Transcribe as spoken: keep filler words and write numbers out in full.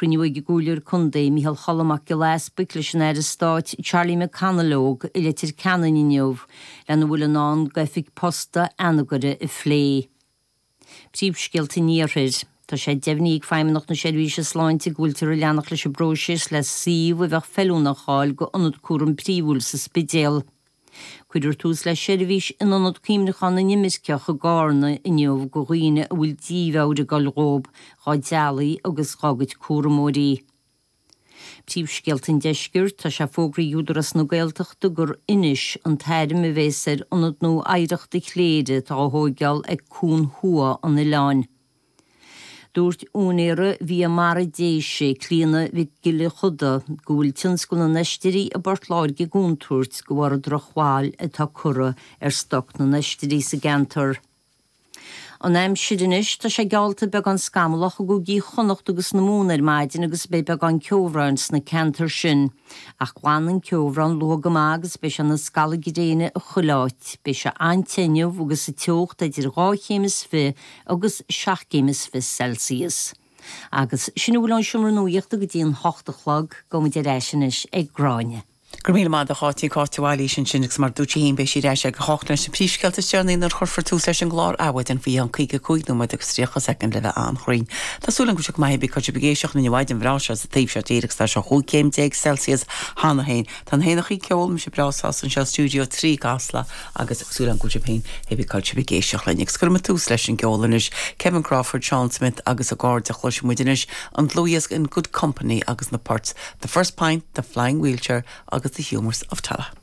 Cruinniú ag an gComhairleoir Contae Micheál Choilm Mac Giolla Easbuic leis an Aire Stáit Charlie McConalogue i Leitir Ceanainn inniu lena bhfuil i ndán d'oifig posta Anagaire a phlé. Príomhscéalta an Iarthair. Tá sé deimhnithe ag Feidhmeannacht na Seirbhíse Sláinte go bhfuiltear ag leanacht leis an bpróiseas le suíomh a bheadh feiliúnach a fháil go ionad cúram príomhúil sa Spidéal. Cuirfear tús le seirbhís in ionad cuimhneacháin na n-imirceach i gCarna inniu go dhaoine a bhfuil dímheabhair ag dul dhóibh, dá dteaghlaigh agus dá gcuid cúramóirí. Príomhscéalta an Deiscirt, tá sé fógraithe ag Údarás na Gaeltachta gur Inis an t-ainm a bheas ar ionad nua oidhreachta Chléire atá á thóigeáil ag Cuan Thuaidh an oileáin. Dúirt úinéir Bhia Mara Déise, Clíona Mhic Giolla Chuda, go bhfuil tionscal na n-oistrí i bPort Láirge i gcontúirt de bharr an drochbhail atá curtha ar stoc na n-oistrí sa gceantar. An aimsir anois, tá sé geallta beagán scamallach i gcúigí Chonnacht agus na Mumhan ar maidin agus beidh beagán ceobhráin sna ceantair sin. Ach glanfaidh an ceobhrán luath go maith agus beidh sé ina scalladh gréine i chuile áit. Beidh sé an-te inniu agus an teocht idir dhá chéim is fiche agus seacht gcéim is fiche Celsius. Agus sin a bhfuil ón seomra nuachta go dtí an hocht a chlog, gabhaimid ar ais anois ag Gráinne. Go raibh míle maith agat a Cháit, Cáit de Bhailís ansin agus mar dúirt sí féin beidh sí ar ais ag a hocht leis na príomhscéalta is deireanaí nuair a chuirfear tús leis an gclár Adhmhaidin faoi cheann caoga cúig nóiméad agus tríocha soicind le bheith an-chruinn. Tá súil agam go bhfuil sibh go maith cibé cá bhfuil sibh ag éisteacht linn an mhaidin bhreá seo sa taobh seo tíre agus tá sé chúig chéim déag Celsius cheana féin. Tá na héanachaí ag ceol mise breá sásta anseo stiúideo trí i gCasla agus súil agam go bhfuil sibh féin cibé cá bhfuil sibh ag éisteacht linn agus cuirfidh muid tús leis an gceol anois Kevin Crawford, Sean Smith agus a gcairde cloisfidh muid anois an dlúthdhiosca In Good Company agus na poirt The First Pint, The Flying Wheelchair agus The Humours of Tallaght.